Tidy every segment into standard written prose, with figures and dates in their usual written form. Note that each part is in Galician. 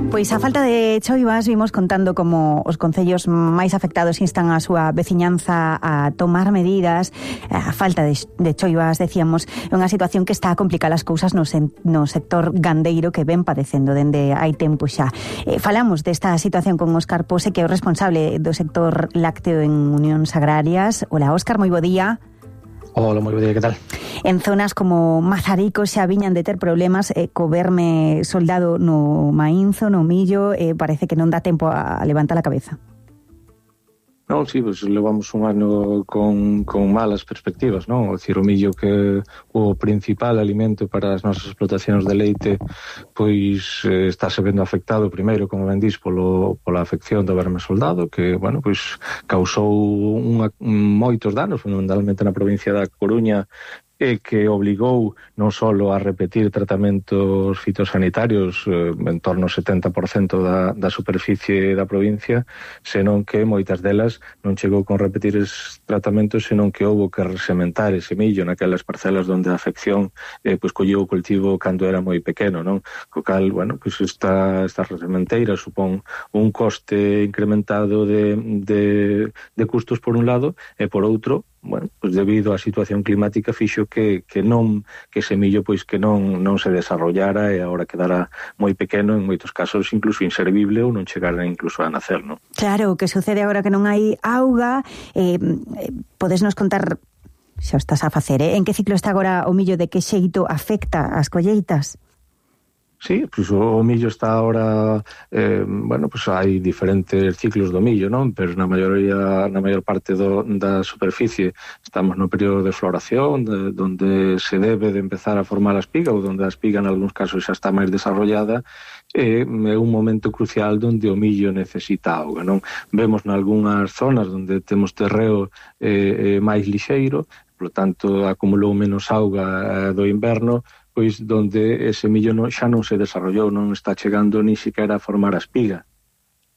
Pois a falta de choivas vimos contando como os concellos máis afectados instan a súa veciñanza a tomar medidas. A falta de choivas, decíamos, é unha situación que está a complicar as cousas no sector gandeiro que ven padecendo dende hai tempo xa. Falamos desta situación con Óscar Pose, que é o responsable do sector lácteo en Unións Agrarias. Hola, Óscar, moi bo día. Hola, moi bo día, que tal? En zonas como Mazarico xa viñan de ter problemas co verme soldado no maínzo, no millo, parece que non dá tempo a levantar a cabeza. Non, sí, pues levamos un ano con malas perspectivas, non? O dicir, o millo que o principal alimento para as nosas explotacións de leite, pois estáse vendo afectado primeiro, como ben dís, pola afección do verme soldado, que, bueno, pois causou moitos danos, fundamentalmente na provincia da Coruña, e que obligou non só a repetir tratamentos fitosanitarios en torno ao 70% da superficie da provincia, senón que moitas delas non chegou con repetir esos tratamentos, senón que houbo que resementar ese millo naquelas parcelas onde a afección pois colleu o cultivo cando era moi pequeno, non? Co cal, bueno, pois esta resementeira supón un coste incrementado de custos por un lado, e por outro, bueno, pois debido á situación climática fixo que ese millo pois que non se desarrollara e agora quedara moi pequeno, en moitos casos incluso inservible ou non chegara incluso a nacer, non? Claro, o que sucede agora que non hai auga, podes nos contar, xa o estás a facer, en que ciclo está agora o millo, de que xeito afecta as colleitas? Sí, pois o millo está ahora, bueno, pois hai diferentes ciclos do millo, non? Pero na maior parte da superficie estamos no período de floración, donde se debe de empezar a formar a espiga, ou donde a espiga en algúns casos xa está máis desarrollada, é un momento crucial onde o millo necesita auga, non? Vemos nalgúnas zonas onde temos terreo máis lixeiro, polo tanto acumulou menos auga do inverno, pois donde ese millo xa non se desarrollou, non está chegando ni siquiera a formar a espiga.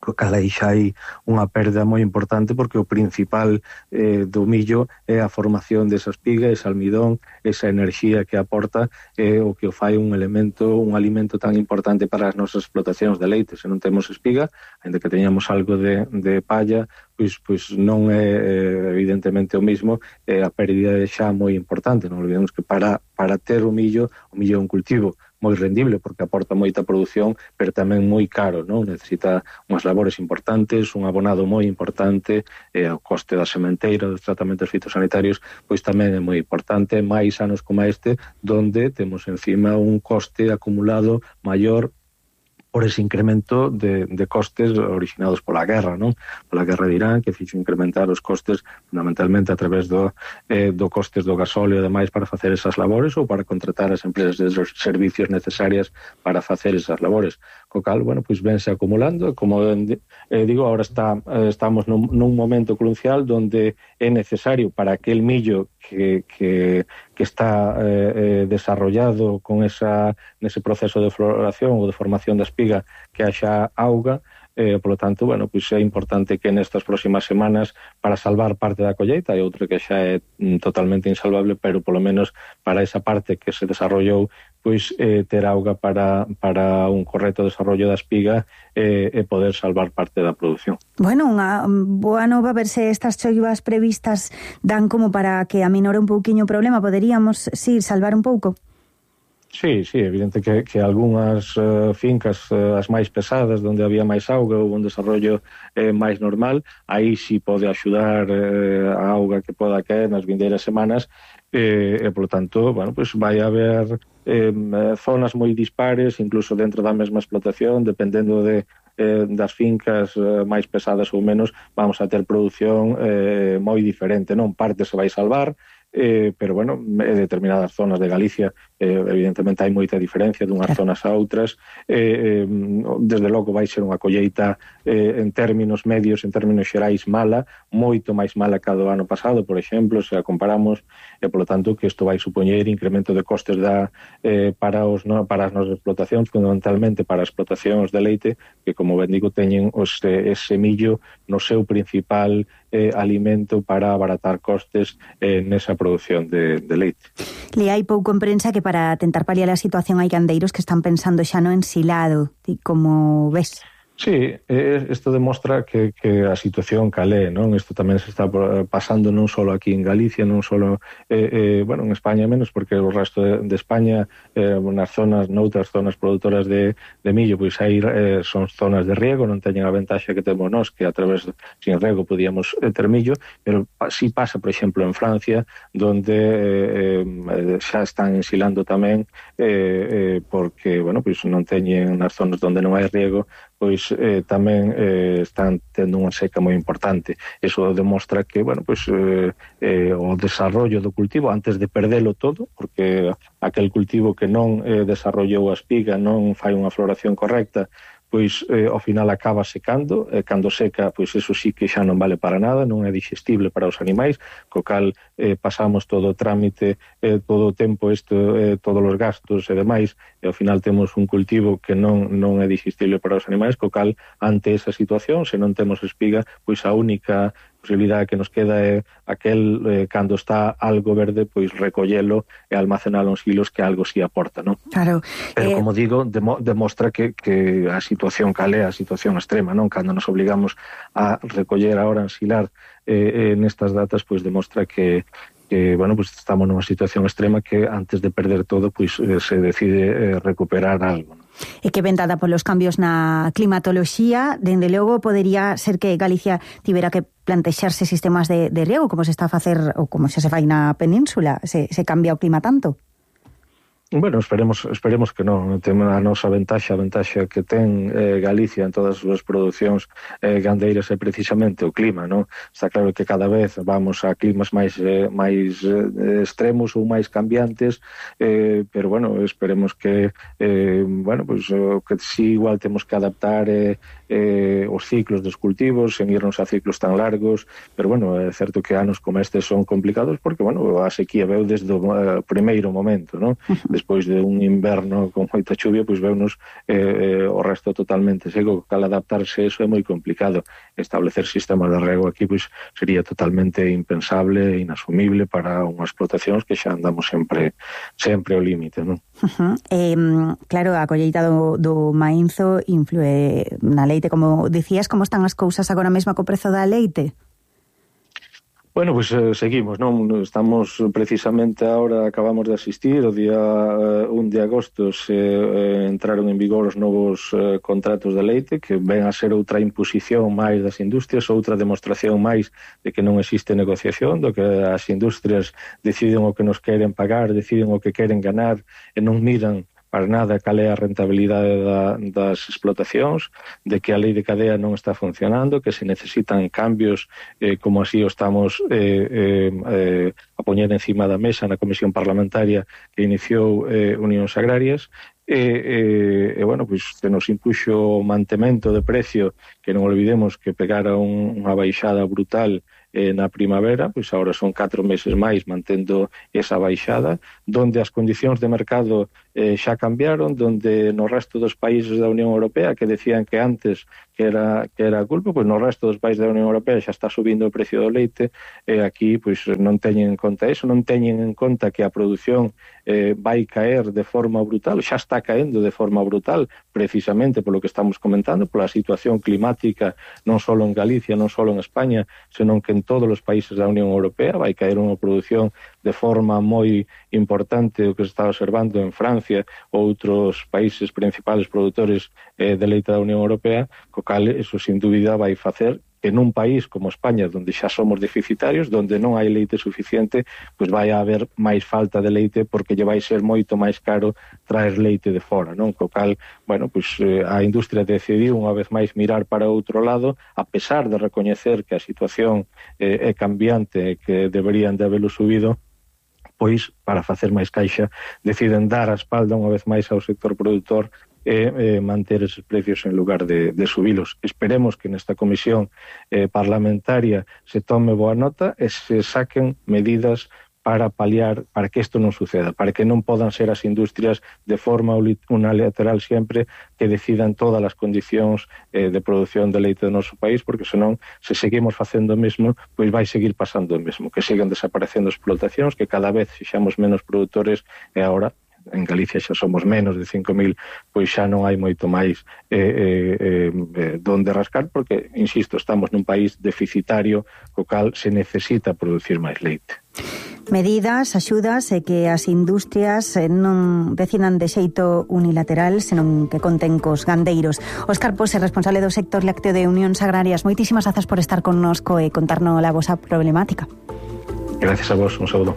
Co cal aí xa hai unha perda moi importante, porque o principal do millo é a formación desa espiga, ese almidón, esa enerxía que aporta, é o que o fai un alimento tan importante para as nosas explotacións de leite. Se non temos espiga, ainda que teñamos algo de palla, pois non é evidentemente o mismo, a pérdida é xa moi importante. Non olvidemos que para ter o millo é un cultivo moi rendible, porque aporta moita produción, pero tamén moi caro, non? Necesita unhas labores importantes, un abonado moi importante, o coste da sementeira, dos tratamentos fitosanitarios, pois tamén é moi importante, máis anos como este, donde temos encima un coste acumulado maior por ese incremento de costes originados pola guerra, non? Pola guerra de Irán, que fixo incrementar os costes fundamentalmente a través do costes do gasóleo e demais para facer esas labores, ou para contratar as empresas de servicios necesarias para facer esas labores. Co cal, bueno, pois vense acumulando, como digo, ahora estamos nun momento crucial onde é necesario para aquel millo que está desarrollado con nese proceso de floración ou de formación da espiga, que haxa auga, polo tanto, bueno, pois é importante que nestas próximas semanas, para salvar parte da colleita, e outra que xa é totalmente insalvable, pero polo menos para esa parte que se desarrollou, pois ter auga para un correcto desarrollo da espiga e poder salvar parte da produción. Bueno, unha boa nova, ver se estas choivas previstas dan como para que aminore un pouquiño o problema. Poderíamos, sí, salvar un pouco? Sí, evidente que algunhas fincas, as máis pesadas, onde había máis auga ou un desarrollo máis normal, aí sí pode axudar a auga que poda caer nas vindeiras semanas, e, polo tanto, bueno, pues vai haber zonas moi dispares, incluso dentro da mesma explotación, dependendo das fincas máis pesadas ou menos, vamos a ter produción moi diferente, non? Parte se vai salvar, pero, bueno, en determinadas zonas de Galicia evidentemente hai moita diferencia dunhas zonas a outras. Desde logo vai ser unha colleita en términos medios, en términos xerais, mala, moito máis mala que a do ano pasado, por exemplo, se a comparamos, e polo tanto que isto vai supoñer incremento de costes para as nosas explotacións, fundamentalmente para as explotacións de leite, que, como ben digo, teñen ese millo no seu principal alimento para abaratar costes nesa produción de leite. Le hai pouco en prensa que para para tentar paliar a situación hai gandeiros que están pensando xa no ensilado. Ti como ves? Sí, isto demostra que a situación calé, non? Isto tamén se está pasando non só aquí en Galicia, non só bueno, en España menos, porque o resto de España, noutras zonas produtoras de millo, pois aí son zonas de riego, non teñen a ventaxa que temos nós, que a través sin riego podíamos ter millo, pero si pasa, por exemplo, en Francia, donde xa están ensilando tamén, porque, bueno, pois non teñen nas zonas onde non hai riego, pois tamén están tendo unha seca moi importante. Eso demostra que, bueno, pois o desarrollo do cultivo antes de perdelo todo, porque aquel cultivo que non desarrollou a espiga, non fai unha floración correcta, pois ao final acaba secando, cando seca, pois eso sí que xa non vale para nada, non é digestible para os animais, co cal pasamos todo o trámite, todo o tempo todos os gastos e demais, e ao final temos un cultivo que non é digestible para os animais, co cal ante esa situación, se non temos espiga, pois a única posibilidade que nos queda é aquel, cando está algo verde, pois recollelo e almacenalo en silos, que algo si aporta, non? Claro. Pero, como digo, demostra que a situación calea, a situación extrema, non? Cando nos obligamos a recoller agora, ensilar nestas datas, pois demostra que bueno, pues estamos nunha situación extrema que antes de perder todo, pois se decide recuperar algo, non? E que ven dada polos cambios na climatoloxía, dende logo podería ser que Galicia tivera que plantexarse sistemas de riego, como se está a facer ou como xa se fai na península, se cambia o clima tanto. Bueno, esperemos que non. Temos a nosa ventaxa, que ten Galicia en todas as súas producións gandeiras é precisamente o clima, non? Está claro que cada vez vamos a climas máis extremos ou máis cambiantes, pero bueno, esperemos que bueno, pues que si igual temos que adaptar os ciclos dos cultivos, sen irnos a ciclos tan largos, pero bueno, é certo que anos como estes son complicados porque, bueno, a sequía veu desde o primeiro momento, non? Despois de un inverno con moita chuvia, pois veunos o resto totalmente seco, cal adaptarse, eso é moi complicado. Establecer sistemas de rego aquí pois sería totalmente impensable e inasumible para unhas explotacións que xa andamos sempre ao límite, non? Claro, a colleita do mainzo influe na leite, como dicías. Como están as cousas agora mesmo co prezo da leite? Bueno, pois seguimos, non? Estamos precisamente agora, acabamos de asistir, o día 1 de agosto se entraron en vigor os novos contratos de leite, que ven a ser outra imposición máis das industrias, outra demostración máis de que non existe negociación, do que as industrias deciden o que nos queren pagar, deciden o que queren ganar e non miran para nada cal é a rentabilidade das explotacións, de que a lei de cadea non está funcionando, que se necesitan cambios, como así o estamos a poñer encima da mesa na Comisión Parlamentaria que iniciou Unións Agrarias, bueno, pois se nos impuxo o mantemento de precio, que non olvidemos que pegara unha baixada brutal na primavera, pois agora son 4 meses máis mantendo esa baixada, donde as condicións de mercado xa cambiaron, donde no resto dos países da Unión Europea, que decían que antes que era a culpa, pois no resto dos países da Unión Europea xa está subindo o precio do leite, e aquí pois non teñen en conta eso, non teñen en conta que a produción vai caer de forma brutal, xa está caendo de forma brutal, precisamente polo que estamos comentando, pola situación climática, non só en Galicia, non só en España, senón que en todos os países da Unión Europea vai caer unha produción de forma moi importante, o que se está observando en Francia ou outros países principales produtores de leite da Unión Europea, co cal eso sin dúbida vai facer que nun país como España, onde xa somos deficitarios, onde non hai leite suficiente, pois vai haber máis falta de leite porque lle vai ser moito máis caro traer leite de fora, non? Co cal, bueno, pois a industria decidiu unha vez máis mirar para outro lado, a pesar de recoñecer que a situación é cambiante e que deberían de habelo subido, pois, para facer máis caixa, deciden dar a espalda unha vez máis ao sector produtor e manter esos precios en lugar de subilos. Esperemos que nesta comisión parlamentaria se tome boa nota e se saquen medidas para paliar, para que isto non suceda, para que non podan ser as industrias de forma unilateral sempre que decidan todas as condicións de produción de leite do noso país, porque senón, se seguimos facendo o mesmo, pois vai seguir pasando o mesmo, que sigan desaparecendo explotacións, que cada vez fixamos menos produtores e agora en Galicia xa somos menos de 5.000, pois xa non hai moito máis donde rascar, porque, insisto, estamos nun país deficitario, co cal se necesita producir máis leite. Medidas, axudas e que as industrias non decidan de xeito unilateral, senón que conten cos gandeiros. Óscar Pose, responsable do sector lácteo de Unións Agrarias, moitísimas grazas por estar connosco e contarnos a vosa problemática. Gracias a vos, un saúdo.